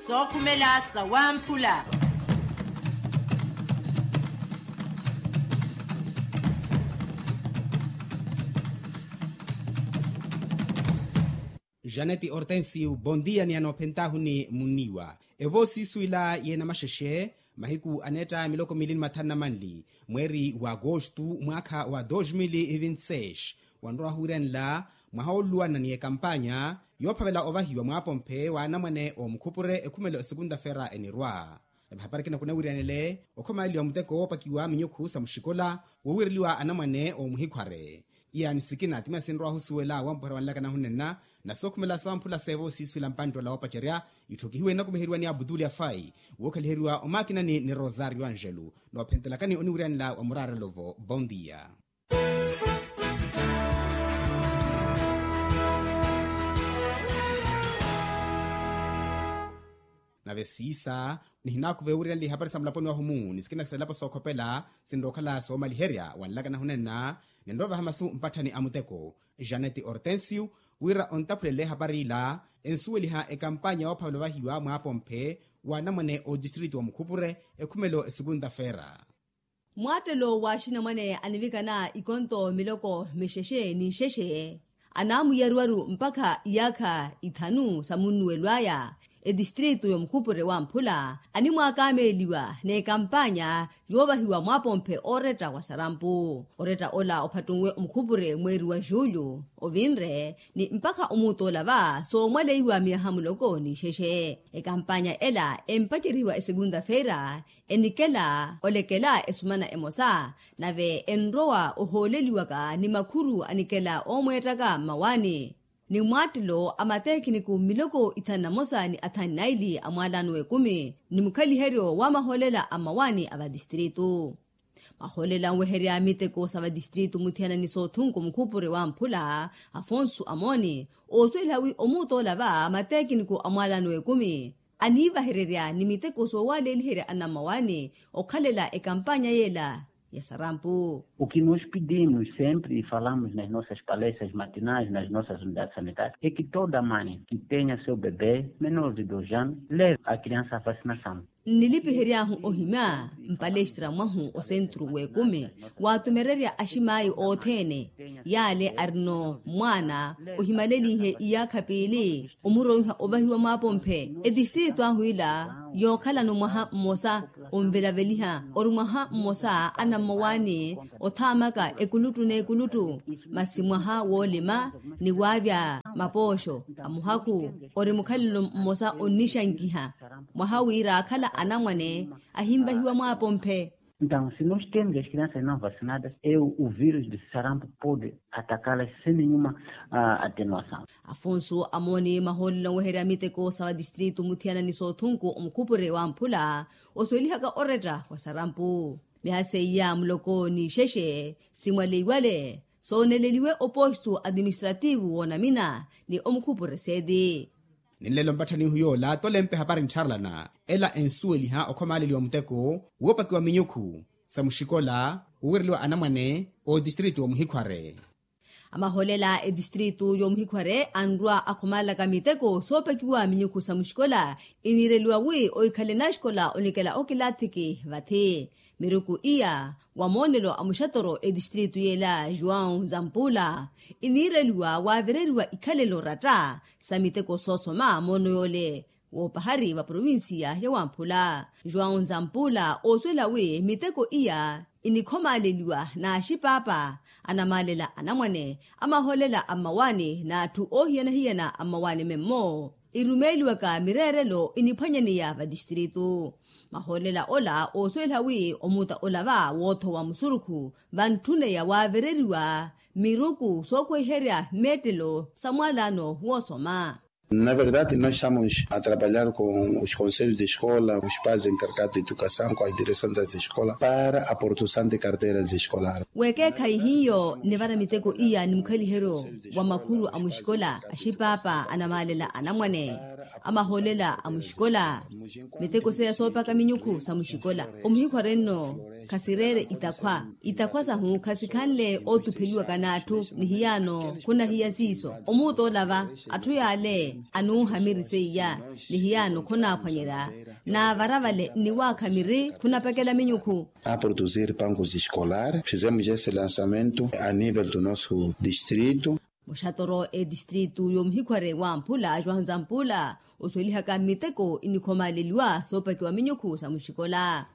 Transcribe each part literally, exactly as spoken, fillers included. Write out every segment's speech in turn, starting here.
Sookhumela sawamphula. Janeti hortensio bondia ni anoophentahuni munniwa. Evo siisuwila yeena maxexe mahiku aneetta miloko mili ni mathanu na manli mweeri wa agostu mwaakha wa dos mil vinti seis, wanrowa huwiranela mwaha olluwana ni ekampanya yoophavela ovahiwa mwaapomphe wa anamwane oomukhupure ekhumelo esekunta-feera enirwa. Nave hapari kina kunawiriyanele okhomaleliwa muteko woopakiwa minyukhu sa muxikola woowireliwa anamwane oomuhikhware. Iya ni sikina timya sinrowa ohusuwela wampuherya wanlaka nahunenna na sookhumela sawamphula seevo siisuwela mpanttwela woopacerya. Itthu kihiwe enakumiheriwa ni abutuli afai wookhaliheriwa omakinani ni rosario angelo. Noophentelakani oniwiriyanela wa muraarelo-vo bondia. Nave siisa nihinaakuva ewiriyanle ihapari sa mulaponi wahumu ni sikina sa ilapo sookhopela sinrowa okhala soomaliherya wanlaka nahunenna. Ninrowa vaha masu mpatthani a muteko janeti hortensio wira ontaphulele ehapari ila ensuweliha ekampanya yoophavela ovahiwa mwaapomphe wa anamwane otistritu wa mukhupure ekhumelo esekunta-feera. Mwaattelo wa axinamwane anivikana ikonto miloko mixexe ni nxexe anaamuyariwaru mpakha iyaakha ithanu sa munnuwelo aya etistritu yomukhupure wamphula animwaakameeliwa n'ekampanya yoovahiwa mwaapomphe ooretta wa sarampu. Oretta ola ophattunwe omukhupure mweeri wa julho ovinre ni mpakha omuuttoola va soomwaleiwa miyaha muloko ni nxexe. Ekampanya ela empacerihiwa esekunta-feera enikela olekela esumana emosa nave enrowa ohooleliwaka ni makhuru anikela oomweettaka mmawaani ni mwaattelo a mateekiniku miloko ithanu na mosa ni athanu naili a mwaalano w'ekumi ni mukhaliheryo wa mahoolela a mmawaani a vatistritu. Mahoolela anweherya miteko sa vatistritu muthiyana ni soothunku mukhupure wamphula afonso amooni oosuweliha wi omuuttoola va mateekiniku a mwaalano w'ekumi aniivahererya ni miteko soowaleeliherya anammawaani okhalela ekampanya yeela ya sarampu. O que nós pedimos sempre e falamos nas nossas palestras matinais nas nossas unidades sanitárias é que toda mãe que tenha seu bebê menor de dois anos leve a criança à vacinação. Nnilipihery'ahu ohimya mpalestra mwahu osentru w'ekumi waatumererya aximaayi othene yaale arino mwaana ohimalelinhe iyaakha piili omuroiha ovahiwa mwaapomphe etistritu ahu ila yookhalano mwaha mmosa onvelaveliha ori mwaha mmosa anammowaani othaamaka ekuluttu n'ekuluttu masi mwaha woolima ni waavya mapooxo a muhakhu ori mukhalelo mmosa onnixankiha mwaha wira akhala anamwane ahinvahiwa mwaapomphe. Então se nós temos as crianças não vacinadas é o vírus de sarampo pode atacá-las sem nenhuma atenuação. Afonso amooni mahoolelo anweherya miteko sa vatistritu muthiyana ni soothunku omukhupure wamphula osuwelihaka oretta wa sarampu. Mihase iya muloko ni ixexe simwaleiwale sooneleliwe opostu atiministrativu woonamina ni omukhupure seeti. Ni nlelo mpatthanihu yoola tolempe hapari nttharalana ela ensuweliha okhomaaleliwa muteko woopakiwa minyukhu sa muxikola woowireliwa anamwane otistritu wa muhikhware. Amahoolela etistritu y'omuhikhware anrwa akhomaalaka miteko soopakiwa minyukhu sa muxikola iniireliwa wi ohikhale naxikola onikela okilathiki vathi miruku iya wa moonelo a muxatoro etistritu yeela joão zampula iniireliwa waavireriwa ikhalelo ratta sa miteko soosoma moono yoole woopahari va provincia ya wamphula joão zampula oosuwela wi miteko iya inikhomaaleliwa n'axipaapa anamaalela anamwane amahoolela a mmawaani n'atthu oohiyana-hiyana a mmawaani memmo irumeeliwaka mireerelo iniphwanyaneya vatistritu. Mahoolela ola oosuweliha wi omuta ola va woothowa musurukhu vantthuneya waavereriwa miruku sookwehiherya mmeettelo sa mwaalano woosoma. Na verdade nós estamos a trabalhar com os conselhos de escola os pais encarregados de educação com as direções das escolas para a produção de carteiras escolares. Weekeekhayi hiyo nivara miteko iya ni mukhaliheryo wa makhuru a muxikola axipaapa anamaalela anamwane. Amahoolela a muxikola. Miteko seya soopaka minyukhu sa muxikola. Omuhikhware nno khasireere itakhwa. Itakhwa sahu khasikhanle ootupheliwaka n'atthu. Nihiyaano khunahiya siiso omuutoolava. Atthu yaale anuuha miri seiya. Nihiyaano khonaaphwanyerya. Naavara vale nniwaakha miri khunapekela minyukhu. A produzir pankos escolar fizemos esse lançamento a nível do nosso distrito. Muxatoro etistritu y'omuhikhware wamphula joão zampula osuwelihaka miteko inikhomaleliwa soopakiwa minyukhu sa muxikola.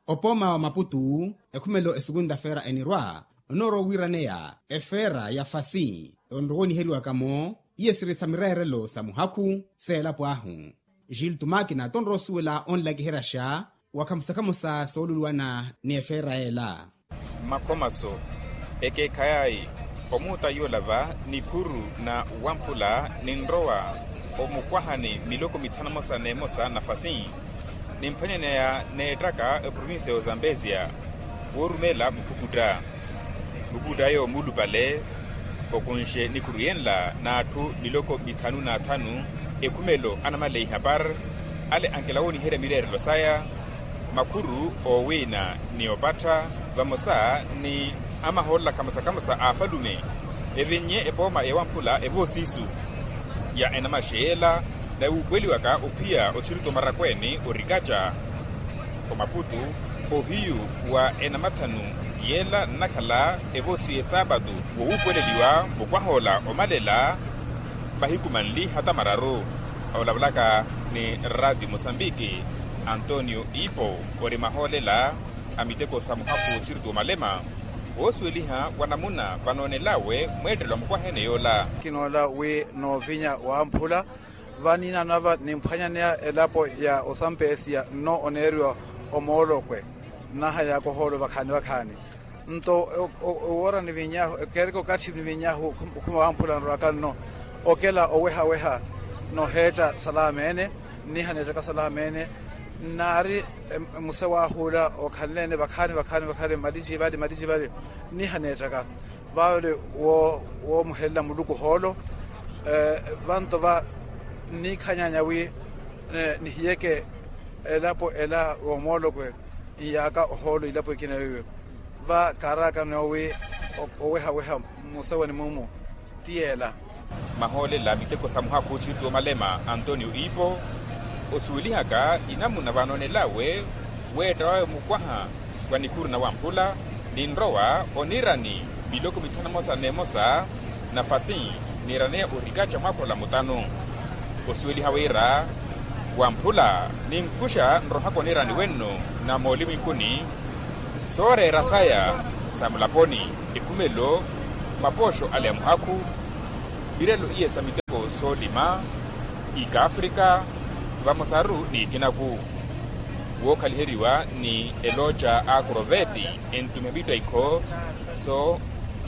Opooma wa maputu ekhumelo esukunta feera enirwa onoorowa wiiraneya efeera ya fasi onrowa oniheriwakamo. Iye siri sa mireerelo sa muhakhu seelapo ahu. Gilto makina tonrowa osuwela onlakiheryaxa wa khamusakhamusa sooluliwana ni efeera ela. Makhomaso ekeekhayayi omuuta yoola va niphuru na wamphula ninrowa omukwahani miloko mithanu emosa n'emosa nafasi. Nimphwanyaneya neettaka eprovincia y'ozambezia woorumeela mukhukutt'aya. Mukhukutt'aya omuulupale okunxe nikhuru yenla n'atthu miloko mithanu n'athanu. Ekhumelo anamaleyi hapar ale ankela wooniherya mireerelo saya makhuru owiina ni opattha vamosa ni amahoolela khamosa khamosa a afalume. Evinnye epooma ewamphula evoosiisu ya enamaxeyela nawuupuweliwaka ophiya othirito marakweeni orikaca omaputu ohiyu wa enamathanu. Yela nnakhala evoosiyu esaapatu wowuupuweleliwa mukwahoola omalela mahiku manli hata mararu. Olavulaka ni ratio mosambiki antonio ipo ori mahoolela a miteko sa muhakhu othirito omalema woosuweliha wa namuna vanoonelawe mweettelo a mukwahene yoola. Kinoola wi noovinya wamphula vaniina nava nimphwanyaneya elapo ya osampesiya nno oneeriwa omoolokwe. Nnahayaka ohoolo vakhaani vakhaani nto owoora niviny'ahu ekeereke okathi niviny'ahu okhuma wamphula nrowaka nno okela owehaweha noheetta salameene. Nniha neettaka salameene nnaari muse wahula okhanleene vakhaani vakhaani vakhaani malici vali malici vali. Nniha neettaka vale woomuhelela muluku hoolo. Vanto va nniikhanyanya wi nihiyeke elapo ela woomoolokwe nyaaka ohoolo ilapo ekina yoyo. Va kaaraakano wi owehaweha mmusewani mumu ti yeela. Mahoolela miteko sa muhakhu othiriti omalema antonio ipo osuwelihaka inamuna vanoonelawe weetta wawe mukwaha wa nikhuru na wamphula ninrowa oniirani miloko mithanu emosa n'emosa nafasi niiraneya orikaca mwaakhola mutanu. Osuweliha wira wamphula ninkuxa nrohaka oniirani wenno na moolimu inkuni sooreera saya sa mulaponi ekhumelo mapooxo ale a muhakhu. Mirelo iye sa miteko soolima ikaafrika vamosaru n'ikinaku wookhaliheriwa ni elooca a akroveti entumiha mittaikho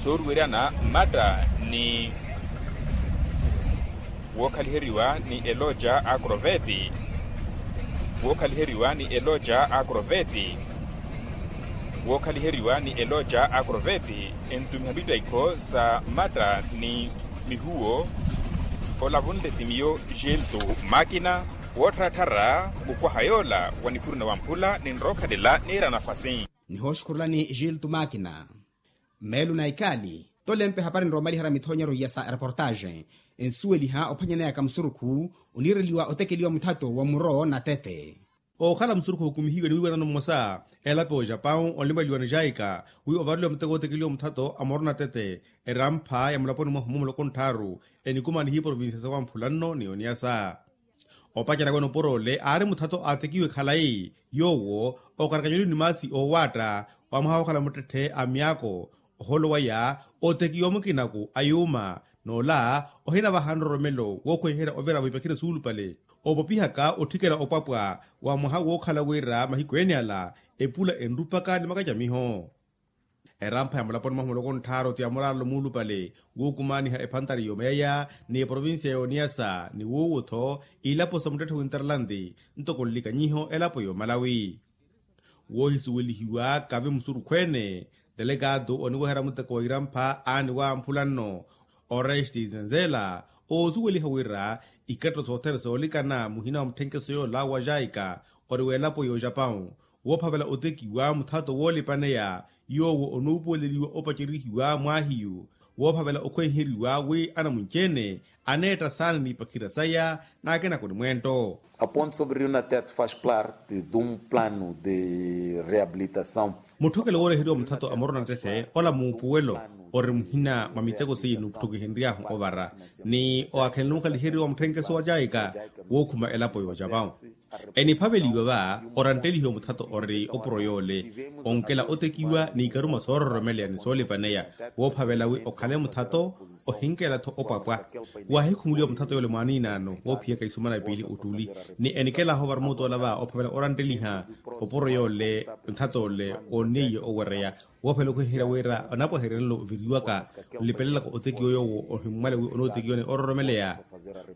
sooruweryana mmatta ni wookhaliheryiwa ni elooca a akroveti wookhaliheryiwa ni elooca a akroveti wookhaliheryiwa ni elooca a akroveti entumiha mittaikho sa mmatta ni mihuwo. Olavunle ti miyo gelto makina woottharattharra mukwaha yoola wa nikhuru na wamphula ninrookhalela niira nafasi. Nihooxukhurulani gelto makina meelo na ikaali tolempe hapari nroomaliherya mithoonyeryo iya sa reportaxe ensuweliha ophwanyaneyaka musurukhu oniireliwa otekeliwa muthato wa muro na tete. Ookhala musurukhu ohukumihiwe ni wiiwanano mmosa elapo ya ojapau onlimaliwa ni jaika wi ovareliwa muteko otekeliwa muthato a muro na tete erampha ya mulaponi mwahu mumuloko ntthaaru enikumanihiye provincia sa wamphula nno ni oniasa. Opacerya wene oporoole aari muthato aatekiwe khalayi yoowo okarakanyoliwe ni maasi oowaatta wa mwaha wookhala muttetthe a myaako ohoolo waya otekiwa mukinaku a yuuma. N'ola ohinavaha nroromelo wookhweherya ovira vwipakhire suulupale opopihaka otthikela opwapwa wa mwaha wookhala wira mahiku ene ala epula enrupaka ni makacamiho. Erampha ya mulaponi mwahu muloko ntthaaru ti ya muraalo muulupale wuukumaniha ephantari y'omayaya ni eprovincia y'oniyasa ni wuuwo-tho ilapo sa muttetthe winterlandi ntoko nlikanyiho elapo y'omalawi. Woohisuwelihiwa kavi musurukhweene telekaatu oniweherya muteko wa irampha aani wamphula nno oresti zenzela oosuweliha wira ikatto sothene soolikana muhina wa mutthenkeso yoola wa jaika ori w'elapo y'ojapawu woophavela otekiwa muthato woolipaneya yoowo onuupuweleliwa opacerihiwa mwaahiyu woophavela okhwenheriwa wi anamunci-ene aneetta saana n'ipakhira saya n'akinako ni mwento. A ponte sobre rio natet faz parte de um plano de reabilitação. Mutthokelo wooleheriwa muthato a morona ttetthe ola muupuwelo ori muhina mwa miteko seiye nuutthokihenry'ahu ovara ni owakhela numukhaliheriwa mutthenkeso wa jaika wookhuma elapo y'ojapawu. Eniphaveliwa va oranttelihiwa muthato ori opuro yoole onkela otekiwa n'ikaruma soororomeleya ni soolipaneya woophavela wi okhale muthato ohinkela-tho opwapwa. Waahikhumuliwa muthato yoole mwaaniinaano woophiyaka isumana piili ottuli ni enikelahu ovara muutoola va ophavela orantteliha opuro yoole muthato ole woonneiye owereya woophela okhweherya wira onapwaheryanelo oviriwaka nlipelelaka otekiwa yoowo ohimmwale wi onootekiwa ni ororomeleya.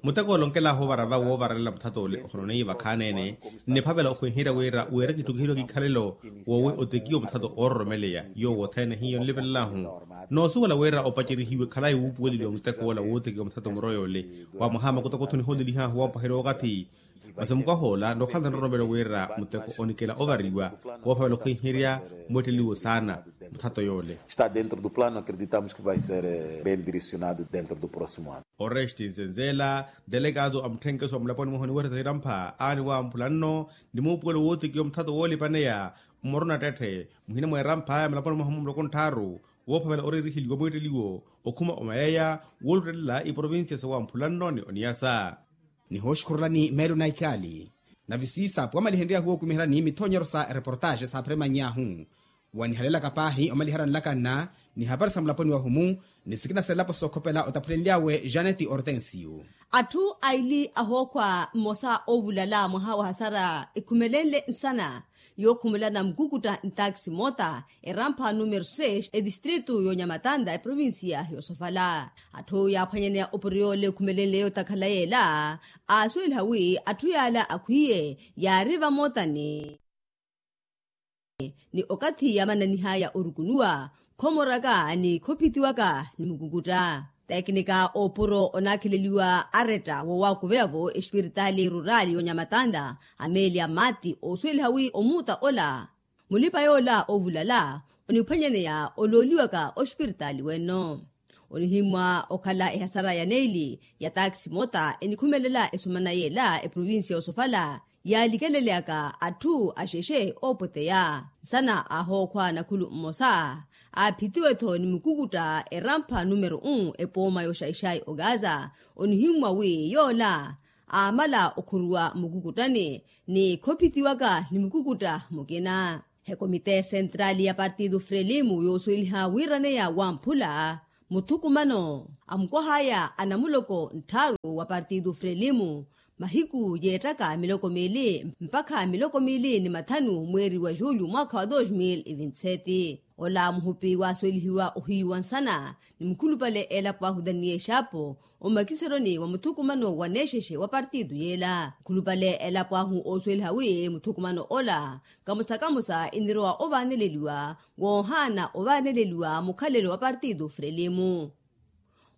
Muteko ole onkelahu ovara va woovaralela muthato ole ohononeiye vakhaani-ene nniphavela okhweherya wira wira kitthukihiwa kikhalelo woowi otekiwa muthato ororomeleya yoowo othene hiyo nlipelela-hu. Noosuwela wira opacerihiwe khalayi wuupuweleliwa muteko ola wootekiwa muthato muro yoole wa mwaha makutokotho nihoolelihahu woompaherya okathi. Masi mukwahoola nookhala nroromelo wira muteko onikela ovariwa woophavela okhwenherya mweetteliwo saana muthato yoole. Está dentro do plano acreditamos que vai ser bem direcionado dentro do próximo ano. Oresti nzenzela delegado a mutthenkeso wa mulaponi mwahu oniweresa irampha aani wamphula nno ni muupuwelo wootekiwa muthato woolipaneya mmorona ttetthe muhina mwa irampha ya mulaponi mwahu muloko ntthaaru woophavela oreeriheliwa mweetteliwo okhuma omayeya wooluttelela iprovincia sawamphula nno ni oniyasa. Nihooxukhurelani meelo na ikaali nave siisapu wamalihenryahu wookumiherani mithonyero sa ereportaxe saaphiremany'ahu wanihalelaka paahi omaliherya nlakanna ni hapari sa mulaponi wahumu ni sikina sa elapo sookhopela otaphulenly'awe janeti ortensiyu. Atthu aili ahookhwa mmosa oovulala mwaha wa hasara ekhumelenle nsana yookhumulana mukukutta ntaxi mota erampha numero seis edistritu y'onyamatanta eprovincia y'osofala. Atthu yaaphwanyaneya opuriyoole ekhumelenle yootakhala yeela aasuweliha wi atthu yaala akhwiiye yaari vamotani ni okathi yaamananihaya orukunuwa khomoraka ni khophitiwaka ni mukukutta. Tekinika oopuro onaakheleliwa aretta woowakuveya-vo espiritaali ruraali y'onyamatanta amelia mati oosuweliha wi omuutta ola mulipa yoola oovulala oniphwanyaneya olooliwaka ospiritaali wenno. Onihimmwa okhala ehasara ya neili ya taxi mota enikhumelela esumana yeela eprovincia y'osofala yaalikeleleyaka atthu axexe oopweteya nsana ahookhwa nakhulu mmosa aaphitiwe-tho ni mukukutta erampha numero um epooma y'oxaixai ogaza. Onihimmwa wi yoola aamala okhuruwa mukukuttani ni khophitiwaka ni mukukutta mukina. Ekomite sentrali ya partidu frelimu yoosuweliha wiiraneya wamphula muthukumano a mukwah'aya a namuloko ntthaaru wa partidu frelimu mahiku yeettaka miloko miili mpakha miloko miili ni mathanu mweeri wa julho mwaakha wa dos mil e vinti seti. Ola muhupi waasuwelihiwa ohiyu wa nsana ni mukhulupale elapo ahu daniye exapo omakiseroni wa muthukumano wa neexexe wa partidu yeela mukhulupale elapo ahu oosuweliha wi muthukumano ola kamosa kamosa inirowa ovaaneleliwa woohaana ovaaneleliwa mukhalelo wa partidu frelimu.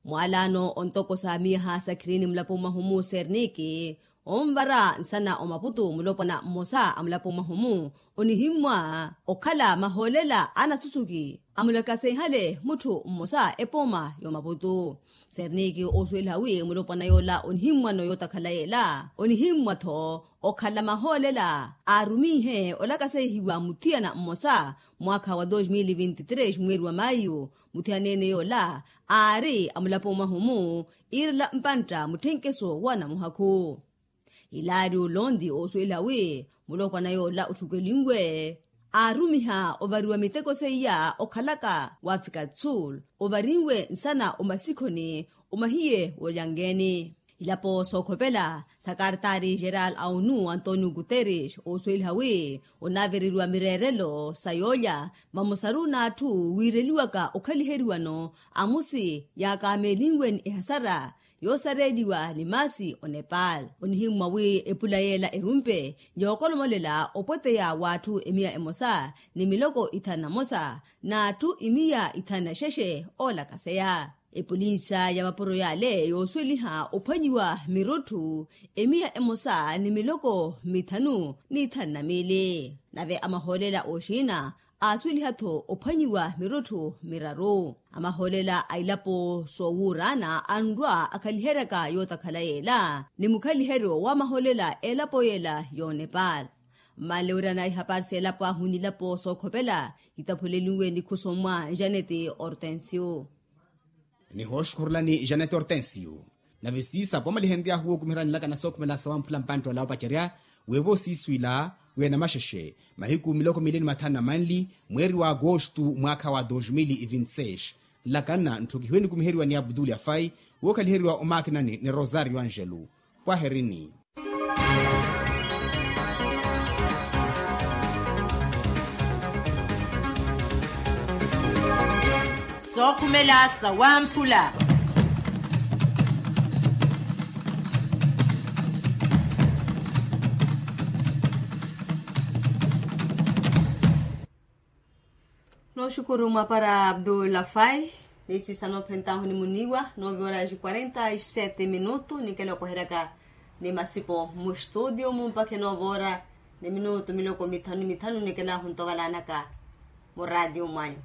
Mwalaano ontoko sa miyaha sa khirini mulapo mwahumu serniki onvara nsana omaputu mulopwana mmosa a mulapo mwahumu onihimmwa okhala mahoolela a nasusuki amulakasenhale mutthu mmosa epooma y'omaputu. Serniki oosuweliha wi mulopwana yoola onihimmwano yootakhala yeela onihimmwa-tho okhala mahoolela aarumihe olakaseihiwa muthiyana mmosa mwaakha wa dos mil e vinti tres mweeri wa mayu muthiyanene yoola aari a mulapo mwahumu iirela mpantta mutthenkeso wa namuhakhu. Ilaario londi oosuweliha wi mulopwana yoola otthukelinwe aarumiha ovariwa miteko seiya okhalaka wa afrika do sul ovarinwe nsana omasikhoni omahiye w'olyangeeni. Ilapo sookhopela sa kartari geral a onu antonio guterres oosuweliha wi onaavereriwa mireerelo sa yoolya vamosaru n'atthu wiireliwaka okhaliheriwano amusi yaakaameelinwe ni ehasara yoosareeliwa ni maasi onepal. Onihimmwa wi epula yeela erumpe yookolomolela opweteya w'atthu emiya emosa ni miloko ithanu na mosa n'atthu imiya ithanu na xexe oolakaseya. Epolinsa ya mapuro yale yoosuweliha ophwanyiwa mirutthu emiya emosa ni miloko mithanu n'ithanu na miili. Nave amahoolela oxiina aasuweliha-tho ophwanyiwa mirutthu miraru. Amahoolela a ilapo soowuuraana anrwa akhaliheryaka yootakhala yeela ni mukhaliheryo wa mahoolela a elapo yeela y'onepal. Mmanle wira na ihapari s'elapo ahu n'ilapo sookhopela kitaphulelinwe nikhuso mwa janete hortensio. Nihooxukhurulani janete hortensio. Nave siisapo amalihenryahu wookumiherya nlakana sookhumela sawamphula mpantte wala opacerya weevo siiswiila weenamaxexe mahiku miloko miili ni mathanu na manli mweeri wa agostu mwaakha wa dos mil e vinte seis. Nlakana ntthukihiwe nikumiheriwa ni abdul afai wookhaliheriwa omaakinani ni rosario angelo. Pwaherini. Sookhumela sawamphula. Nooxukuru mwapara abdul afai. Niisisa noophentahu ni muniiwa nove horas quarenta e sete minutu nikela okoheryaka ni masipo mustudio mumpakhe nove horas ni minutu miloko mithanu mithanu nikela huntovalaanaka muraatiyo mwanyu.